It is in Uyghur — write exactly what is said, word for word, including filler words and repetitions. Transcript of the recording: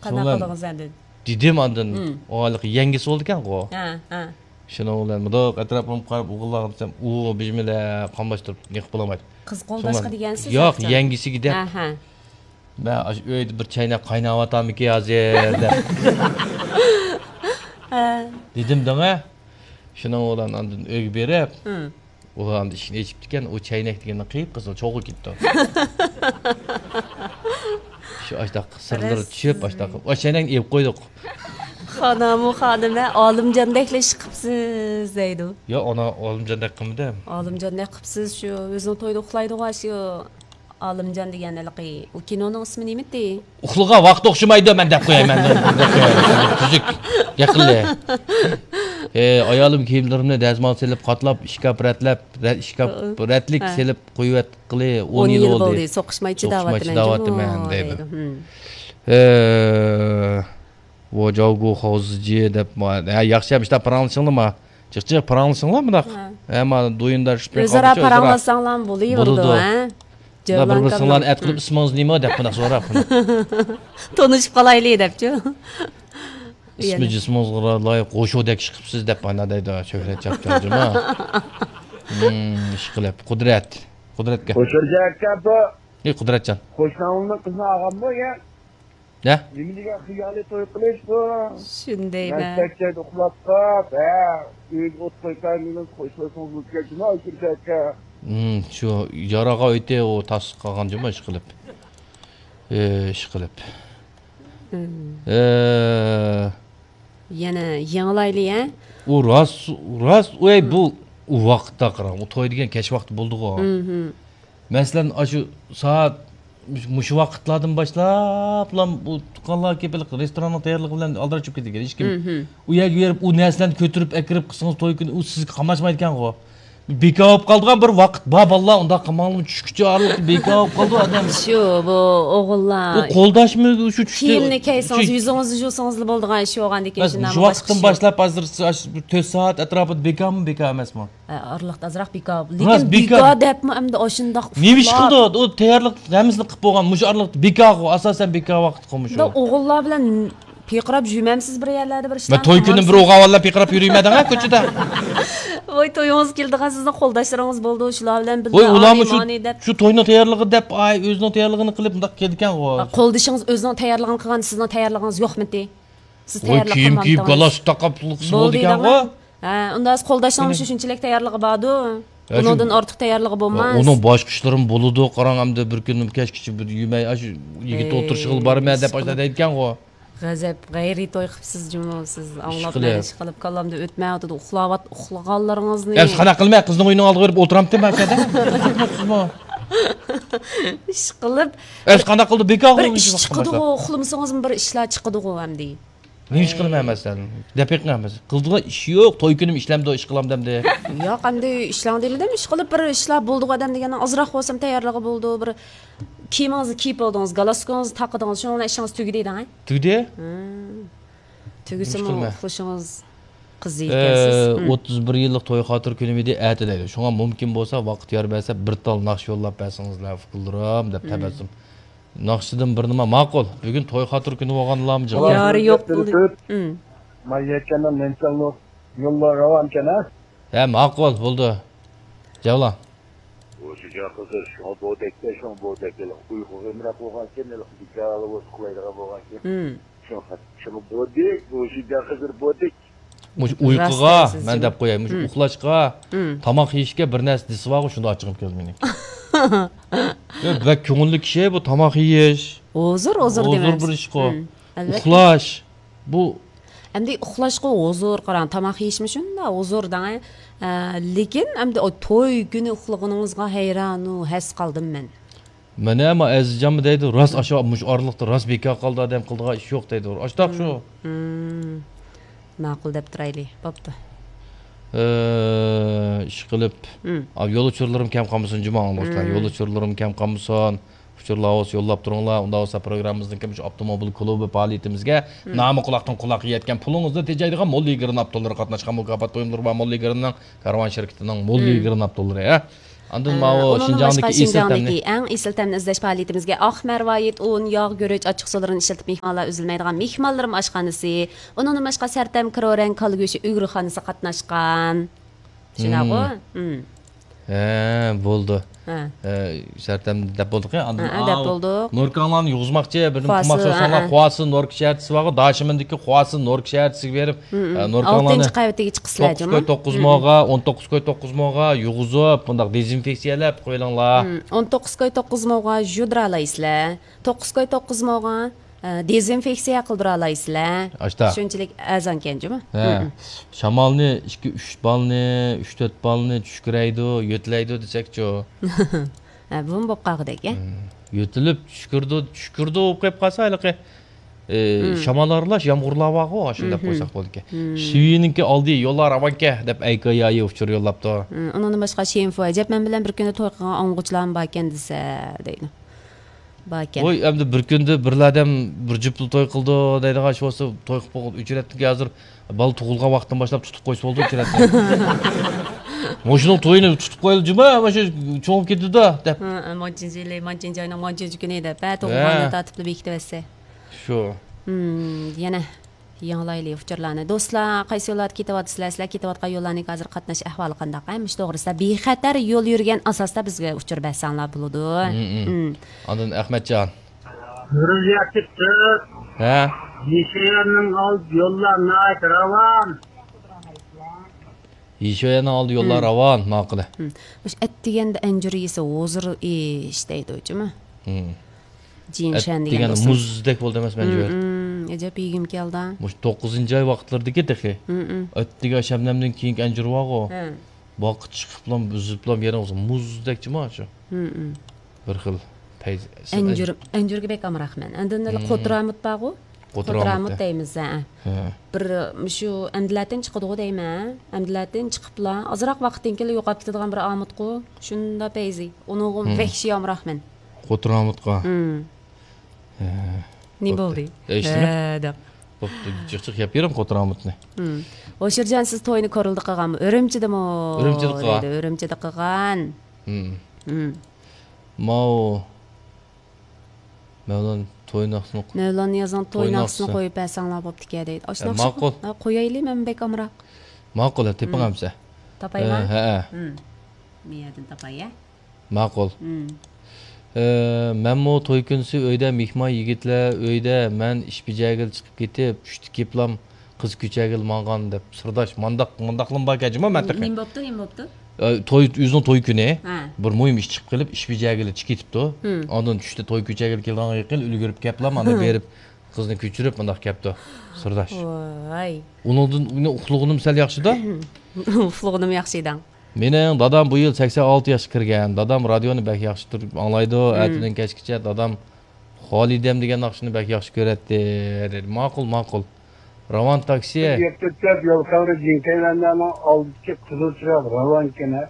قانداق قىلدىڭىز ئەندىن؟ دېدىم ئاندىن، ئۇ ھېلىقى يەڭگىسى بولىدىكەنغۇ. ھە، ھە. شۇنىڭ بىلەن مۇنداق ئەتراپىمغا قاراپ ئوغۇللارغا دېسەم، ئۇ بىزمىلە قاملاشتۇرۇپ نېقىپ بولالمايدۇ. قىز قولداشقا دېگەنسىز؟ ياق، يەڭگىسىگە دەپ. ھە، ھە. مەن ئاشۇ ئۆيدە بىر چەينەك قايناۋاتامىكى ھازىر دەپ. ھە. دېدىم دەڭە. شۇنىڭ بىلەن ئاندىن ئۆيگە بېرىپ، ئۇلار ئاندىن ئىشىكنى ئېچىپتىكەن، ئۇ چەينەك دېگەننى قىپقىزىل چوغى كېتىپتۇ. شۇ ئاشتاق سىرلىرى چۈشۈپ، ئاشتاق، ئۇ چەينەكنى ئېلىپ قويدۇق. خانىمۇ خانىمە، ئالىمجاندەكلا ئىش قىپسىز دەيدۇ. يا، ئانا، ئالىمجاندەك قىلمىدىم. ئالىمجاندەك قىپسىز، شۇ ئۆزىنىڭ تويىدا ئۇخلايدىغان شۇ ئالىمجان دېگەن ھېلىقى، ئۇ كىنونىڭ ئىسمى نېمىدى؟ ئۇخلىغان ۋاقىت ئوخشىمايدۇ، مەن دەپ قوياي، مەن دەپ قوياي. تۈزۈك. يېقىنلى. ئى، ئايالىم كىيىملىرىمنى دەزمال سېلىپ، قاتلاپ، ئىشكاپ رەتلەپ، رە-، ئىشكاپ رەتلىك سېلىپ قويۇۋەتكىلى ئون يىل بولدى. سوقۇشماي چىداۋاتىمەن، چىداۋاتىمەن دەيدۇ. ئى، ۋو جاۋگۇ خاۋزىجى دەپ، ھە، ياخشى، مۇشۇنداق پاراڭلىشىڭلار ما. جىق جىق پاراڭلىشىڭلار مۇنداق. ھە. ھە، ما دويۇندا شۇ ئۆزئارا پاراڭلاشساڭلار بولۇۋېرىدۇ، ھە؟ بىر بىرسىڭلارنى ئەت قىلىپ، ئىسمىڭىز نېمە دەپ مۇنداق سوراپ. تونۇشۇپ قالايلى دەپچۇ. ئىسمى جىسمىڭىزغا لايىق، غوشۇدەك ئىش قىپسىز دەپ مانا دەيدۇ، شۆھرەت چاپچان جۇما. ئىش قىلىپ، قۇدرەت. قۇدرەتكە. قوشۇرجا ئاكا بۇ. ئى، قۇدرەتجان. قوشناڭنىڭ قىزىنى ئالغانمۇ يا؟ نە؟ نېمە دېگەن خىيالىي توي قىلىش بۇ؟ شۇندايمەن. مەن چەكچەيدە ئۇخلاپ قاپ، ھە، ئۆيگە ئوت قويۇپ بەرمەيمىز، قوشۇلسىڭىز بولىدىكەن جۇما، ئۆچۈرۈش ئاكا. شۇ ياراغا ئۆيتى ئۇ تاس قالغان جۇما ئىش قىلىپ. ئىش قىلىپ. ئە، يەنە يېڭىلايلى، ھە؟ ئۇ راست، راست، ئۇ، ئەي، بۇ، ئۇ ۋاقىتتا قاراڭ، ئۇ توي دېگەن كەچ ۋاقتى بولىدىغۇ. مەسىلەن، ئاشۇ سائەت مۇشۇ ۋاقىتلاردىن باشلاپلا بۇ تۇغقانلار كېلىپ رېستوراننىڭ تەييارلىقى بىلەن ئالدىراپ چۈشۈپ كېتىدىكەن. ھېچكىم ئۇ يەرگە بېرىپ ئۇ نەرسىلەرنى كۆتۈرۈپ ئەكىرىپ قىلسىڭىز توي كۈنى ئۇ سىزگە قاماشمايدىكەنغۇ. بىكار بولۇپ قالىدىغان بىر ۋاقىت بار، بالىلار، ئۇنداق قىلماڭلار، چۈشكىچە ئارىلىقتا بىكار بولۇپ قالىدۇ ئادەم. شۇ، بۇ ئوغۇللار. ئۇ قولداشمۇ شۇ چۈشتە كىيىمنى كىيسىڭىز، يۈزىڭىزنى جۇسىڭىزلا بولىدىغان ئىش بولغاندىكىن، شۇنداق مۇشۇ ۋاقىتتىن باشلاپ ھازىر بىر تۆت سائەت ئەتراپىدا بىكارمۇ، بىكار ئەمەسمۇ؟ ئارىلىقتا ئازراق بىكار. لېكىن بىكار دەپمۇ ئەمدى ئاشۇنداق نېمە ئىش قىلدى؟ ئۇ تەييارلىق ھەممىسىنى قىلىپ بولغان. مۇشۇ ئارىلىقتا بىكارغۇ، ئاساسەن بىكار ۋاقىتقۇ مۇشۇ. ئوغۇللار بىلەن پىرقىراپ يۈرمەمسىز بىر يەرلەردە بىر ئىشلار؟ مەن توي كۈنى بىر ئوغۇل بىلەن پىرقىراپ يۈرمەيمەن دەڭە كوچىدا. ۋاي، تويىڭىزغا كېلىدىغان سىزنىڭ قولداشلىرىڭىز بولىدۇ، شۇلار بىلەن بىللە ۋاي، ئۇلارمۇ شۇ، ئانى-مانى دەپ. شۇ توينىڭ تەييارلىقى دەپ، ئاي، ئۆزىنىڭ تەييارلىقىنى قىلىپ مۇنداق كېلىدىكەنغۇ. قولدىشىڭىز ئۆزىنىڭ تەييارلىقىنى قىلغان، سىزنىڭ تەييارلىقىڭىز يوقمىتى؟ سىز تەييارلىق قىلمامتىڭىز؟ كىيىم كىيىپ، گالستۇك تاقاپ، بولدىكەنغۇ. ھە، ئۇنداق قولداشنىڭ شۇ شۇنچىلىك تەييارلىقى باردۇ. ئۇنىڭدىن ئارتۇق تەييارلىقى بولماس. ئۇنىڭ باشقا ئىشلىرىمۇ بولىدۇ، قاراڭ، ئەمدى بىر كۈنى كەچكىچە بىر يېمەي، ئاشۇ يىگىت ئولتۇرۇشىغىلا بارىمەن دەپ ئاشۇنداق دەيدىكەنغۇ. غەزەپ، غەيرىي توي قىپسىز جۇمۇ سىز. ئاڭلاپ مەن ئىشقىلىپ كاللامدا ئۆتمەيۋاتىدۇ، ئۇخلاۋات-، ئۇخلىغانلىرىڭىزنى. ئەمسە قانداق قىلىمەن؟ قىزنىڭ ئۆيىنىڭ ئالدىغا بېرىپ ئولتۇرامتىم ھەر سەدە. ئىشقىلىپ. ئەمسە قانداق قىلدى؟ بىكار بىر ئىش چىقىدىغۇ، ئۇخلىمىسىڭىزمۇ بىر ئىشلار چىقىدىغۇ ئەمدى. نېمە ئىش قىلىمەن مەسىلەن؟ دەپ بېقىڭ مەسىلەن. قىلىدىغان ئىش يوق، توي كۈنۈم ئىشلەمدۇ، ئىش قىلامدۇ ئەمدى. ياق، ئەمدى ئىشلەڭ دېمىدىم، ئىشقىلىپ بىر ئىشلار بولىدىغۇ ئادەم دېگەننىڭ ئازراق بولسىمۇ تەييارلىقى بولىدۇ، بىر كىيىمىڭىزنى كىيىپ بولدىڭىز، گالستۇكىڭىزنى تاقىدىڭىز، شۇنىڭ بىلەن ئىشىڭىز تۈگىدى دەڭ. تۈگىدى؟ تۈگىسىمۇ ئۇخلىشىڭىز قىزىيدىكەنسىز. ئوتتۇز بىر يىللىق توي خاتىرە كۈنۈم ئىدى، ئەتە دەيدۇ. شۇڭا مۇمكىن بولسا ۋاقىت يار بەرسە بىر تال ناخشا يوللاپ بەرسىڭىزلەر ئۇكىلىرىم دەپ تەبەسسۇم. ناخشىدىن بىر نېمە ماقۇل. بۈگۈن توي خاتىرە كۈنى بولغانلارمۇ جىق. يارى يوق بولدى. ما يەكەننىڭ نەنچەڭلىق يوللار راۋانكەن ھە؟ ھە، ماقۇل بولدى. جاۋلا. ئۇ شۇجاق قىزلار شۇڭا بودەكتە، شۇڭا بودەك ھېلىقى ئۇيقۇغا ئامراق بولغانكەن، ھېلىقى بىكارلا بولسا ئۇخلايدىغان بولغانكەن. شۇڭا، شۇڭا بودەك، ئۇ شۇجاق قىزلار بودەك. مۇشۇ ئۇيقۇغا، مەن دەپ قوياي، مۇشۇ ئۇخلاشقا، تاماق يېيىشكە بىر نەرسە دېسە بارغۇ، شۇنداق ئاچچىقىم كېلىدۇ مېنىڭ. يا، بەك كۆڭۈللۈك كىشى بۇ تاماق يېيىش. ھۇزۇر، ھۇزۇر دېمەس. ھۇزۇر بىر ئىشقۇ. ئەلۋەتتە. ئۇخلاش. بۇ ئەمدى ئۇخلاشقا ھۇزۇر، قاراڭ، تاماق يېيىشمۇ شۇنداق ھۇزۇر دەڭ. ئە، لېكىن ئەمدى ئو توي كۈنى ئۇخلىغىنىڭىزغا ھەيرانۇ ھەس قالدىم مەن. مانا، ما ئەزىزجانمۇ دەيدۇ، راست ئاشۇ مۇشۇ ئارىلىقتا راست بىكار قالدى ئادەم، قىلىدىغان ئىش يوق دەيدۇ. ئاشتاق شۇ. ماقۇل دەپ تۇرايلى، بوپتۇ. ئىش قىلىپ، يول ئۇچۇرلىرىم كەم قالمىسۇن جۇما ئاڭلىغۇچىلار، يول ئۇچۇرلىرىم كەم قالمىسۇن. ئۇچۇرلار بولسا يوللاپ تۇرۇڭلار. ئۇنداق بولسا پروگراممىمىزنىڭكى مۇشۇ ئاپتوموبىل كۇلۇبى پائالىيىتىمىزگە نامى قۇلاقتىن قۇلاققا يەتكەن، پۇلىڭىزنى تېجەيدىغان مول يىگىرمە ئاپتوللىرى قاتناشقان مۇكاپات بۇيۇملىرى بار مول يىگىرمىنىڭ كارۋان شىركىتىنىڭ مول يىگىرمە ئاپتوللىرى، ھە. ئاندىن ماۋۇ ئۇنىڭدىن باشقا شىنجاڭدىكى ئېسىل تەمنى، شىنجاڭدىكى ئەڭ ئېسىل تەمنى ئىزدەش پائالىيىتىمىزگە ئاق مەرۋايىت، ئۇن، ياغ، گۈرۈچ، ئاچچىق سۇلىرىنى ئىشلىتىپ مېھمانلار ئۈزۈلمەيدىغان مېھمانلىرىم ئاشخانىسى، ئۇنىڭدىن باشقا سەرتەم كرورەڭ كالا گۆشى ئۈگرىخانىسى قاتناشقان. شۇنداقغۇ؟ ھە، بولدى. ھە. ھە، سەرتەم دەپ بولدۇق يا. ئاندىن ھە، دەپ بولدۇق. نوركاڭلارنى يۇغۇزماقچى، بىردىن قىلماقچى بولساڭلار، خۇاسى نوركا شەھەرچىسى بارغۇ، داشىمىندىكى خۇاسى نوركا شەھەرچىسىگە بېرىپ، ئە، نوركاڭلارنى ئالتىنچى قەۋىتىگە چىقىسىلەر، توققۇز كوي توققۇز موغا، ئون توققۇز كوي توققۇز موغا يۇغۇزۇپ، بۇنداق دېزىنفېكسىيەلەپ قويۇلۇڭلار. ئون توققۇز كوي توققۇز موغا يۇدۇرالايسىلەر. توققۇز كوي توققۇز موغا، ئە، دېزىنفېكسىيە قىلدۇرالايسىلەر. ئاشتا. شۇنچىلىك ئەرزانكەن جۇمۇ. ھە. شامالنى ئىككى، ئۈچ بالنى، ئۈچ، تۆت بالنى چۈشكۈرەيدۇ، يۆتىلەيدۇ دېسەكچۇ. ھە، بۇمۇ بولۇپ قالغۇدەك، ھە؟ يۆتىلىپ چۈشكۈردى، چۈشكۈردى بولۇپ قېلىپ قالسا، ھېلىقى، ئى، شامال ئارىلاش يامغۇرلار بارغۇ، ئاشۇنداق قويساق بولىدىكەن. شىۋىنىڭكى ئالدى يوللار راۋانكەن دەپ ئەيكايايى ئۇچۇر يوللاپتۇ. ئۇنىڭدىن باشقا شېنفۇ ئەجەب، مەن بىلەن بىر كۈندە توي قىلغان ئاڭغۇچىلارمۇ باركەن دېسە، دەيدۇ. باركەن. ۋوي، ئەمدى بىر كۈندە بىرلا ئادەم بىر جۈپلا توي قىلىدۇ دەيدىغان ئىش بولسا، توي قىلىپ بولغان ئۆچرەتتىكى ھازىر بالا تۇغۇلغان ۋاقىتتىن باشلاپ تۇتۇپ قويسا بولدى ئۆچرەتنى. مۇشۇنىڭ تويىنى تۇتۇپ قويىلى جۇمۇ، مۇشۇ چوڭىپ كېتىدۇ دەپ. ھە، مانچىنچى يىلى، مانچىنچى ئاينىڭ مانچىنچى كۈنى دەپ، ھە، تۇغۇلغاننى تارتىپلا بېكىتىۋەتسە. شۇ. يەنە يېڭىلايلى ئۇچۇرلارنى. دوستلار، قايسى يوللاردا كېتىۋاتىسىلەر؟ سىلەر كېتىۋاتقان يوللارنىڭ ھازىر قاتناش ئەھۋالى قانداق؟ ھە، مۇشۇ توغرىسىدا. بىخەتەر يول يۈرگەن ئاساستا بىزگە ئۇچۇر بەرسەڭلار بولىدۇ. ئاندىن ئەخمەتجان. گۈرۈزىيە چىقتى. ھە؟ يېشىلەرنىڭ ئالدى يوللار ناھايىتى راۋان. يېشىلەرنىڭ ئالدى يوللار راۋان، ماقۇل. مۇشۇ ئەتىگەندە ئەنجۈر يېسە ھۇزۇر ئىش دەيدۇ جۇمۇ. جىنشەن دېگەن ئەتىگەندە مۇزدەك بولدى ئەمەسمۇ ئەنجۈر؟ ئەجەب يېگۈم كەلدى. مۇشۇ توققۇزىنچى ئاي ۋاقىتلىرىدىكى تېخى. ئەتىگەن شەبنەمدىن كېيىنكى ئەنجۈر بارغۇ. ھە. باغقا چىقىپلا، ئۈزۈپلا يەرنى ئۇرسا مۇزدەك جۇمۇ شۇ. بىر خىل پەيز. ئەنجۈر، ئەنجۈرگە بەك ئامراقمەن. ئاندىن قوتۇرامۇت بارغۇ؟ قوتۇرامۇت دەيمىز، ھە. بىر مۇشۇ ئەمدىلەتىن چىقىدىغۇ دەيمەن. ئەمدىلەتىن چىقىپلا ئازراق ۋاقىتتىن كېيىن يوقاپ كېتىدىغان بىر ئامۇتقۇ. شۇنداق پەيزى. ئۇنىڭغا ۋەھشىي ئامراقمەن. قوتۇرامۇتقا. نېمە بولدى؟ ھە، دەپ. بوپتۇ، جىق جىق يەپ بېرىڭ قوتۇرامۇتنى. ھوشۇرجان، سىز توينى كورلىدا قىلغانمۇ؟ ئۈرۈمچىدىمۇ؟ ئۈرۈمچىدە قىلغان. دەيدۇ، ئۈرۈمچىدە قىلغان. ماۋۇ مەۋلان توي ناخشىسىنى، مەۋلان نىيازنىڭ توي ناخشىسىنى قويۇپ بەرسەڭلار بوپتىكەن دەيدۇ. ئاشۇ ناخشا ماقۇل. قويايلى، مەن بەك ئامراق. ماقۇل، تېپىڭ ئەمسە. تاپايمەن؟ ھە. مەيەردىن تاپاي، ھە؟ ماقۇل. مەنمۇ توي كۈنىسى ئۆيدە مېھمان، يىگىتلەر ئۆيدە، مەن ئىش بېجەرگىلى چىقىپ كېتىپ، چۈشتە كېلىپلام قىز كۆچەرگىلى ماڭغان دەپ سىرداش، مانداق، مانداقلىمۇ باركەن جۇمۇ مەنتىقە. نېمە بوپتۇ، نېمە بوپتۇ؟ ئە، توي، ئۆزىنىڭ توي كۈنى بىر مۇھىم ئىش چىقىپ قېلىپ، ئىش بېجەرگىلى چىقىپ كېتىپتۇ. ئاندىن چۈشتە توي كۆچەرگىلى كېلىدىغانغا يېقىن ئۈلگۈرۈپ كەپلا، مانا بېرىپ قىزنى كۆچۈرۈپ مۇنداق كەپتۇ سىرداش. ۋاي. ئۇنىڭدىن، ئۇنى ئۇخلىغىنىم سەل ياخشىدا. ئۇخلىغىنىم ياخشىدا. مېنىڭ دادام بۇ يىل سەكسەن ئالتە ياشقا كىرگەن. دادام رادىيونى بەك ياخشى تۇرۇپ ئاڭلايدۇ. ئەتىدىن كەچكىچە دادام خالىدەم دېگەن ناخشىنى بەك ياخشى كۆرەتتى، دېدى. ماقۇل، ماقۇل. راۋان تاكسى. يەتتە تۆت يول خەۋىرى جىڭكەيلەنلەرنىڭ ئالدىدىكى قىزىل چىراغ راۋانكەن ھە.